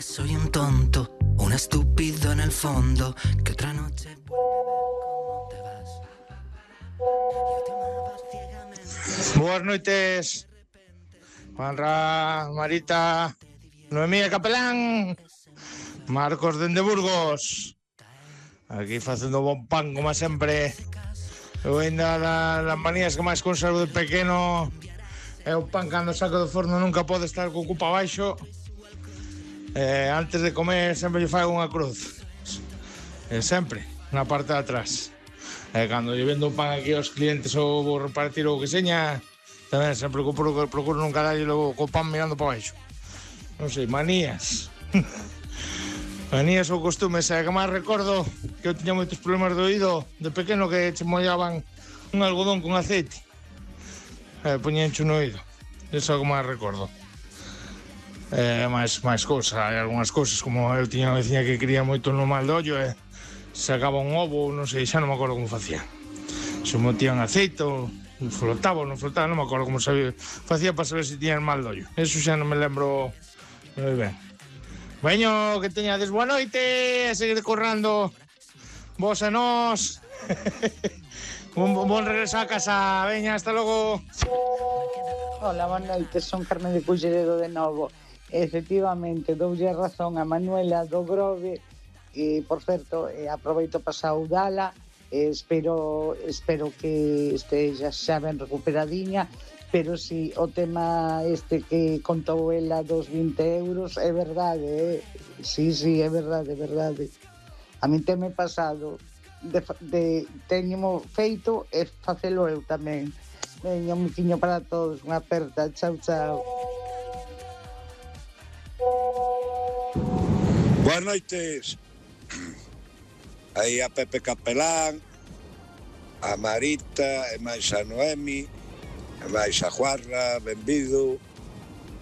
soy un tonto, un estúpido en el fondo, que otra noche cómo te vas. Boas noites, Juanra, Marita, Noemí e Capelán, Marcos dende Burgos. Aquí facendo bon pan, como sempre. Eu ainda las manías que máis conservo de pequeno é o pan cando saco do forno nunca pode estar co cupo abaixo. Antes de comer sempre lle fago unha cruz. Sempre, na parte de atrás. Cando lle vendo o pan aquí aos clientes ou vou repartir o que seña, tamén sempre procuro nunca darlle logo co pan mirando para baixo. Non sei, manías. Manías ou costumes, que máis recordo que eu tiña moitos problemas de oído de pequeno, que che mollaban un algodón con aceite, poñencho no oído. Eso é o que máis recordo. máis cousas, hai algunhas cousas, como eu tiña unha veciña que quería moito no mal de ollo e sacaba un ovo, non sei, xa non me acordo como facía. Se metían aceite ou flotaba ou non flotaba, non me acordo como facía para saber se tiñan mal de ollo. Eso xa non me lembro moi ben. Veño, que teñades boa noite, a seguir currando vos e nós. Bon regreso a casa, veña, hasta logo. Hola, boa noite, son Carmen de Culleredo de novo. Efectivamente, doulle razón a Manuela do Grove, e, por certo, aproveito para saudala, espero que esteja xa ben recuperadiña, pero si o tema este que contou ela dos 20 euros é verdade, sí, é verdade. A min teme pasado teño feito e facelo eu tamén. Veña, un miquiño para todos, unha aperta, chao. Boas noites. Aí a Pepe Capelán, a Marita, e máis a Noemi, e máis a Juarra, benvido.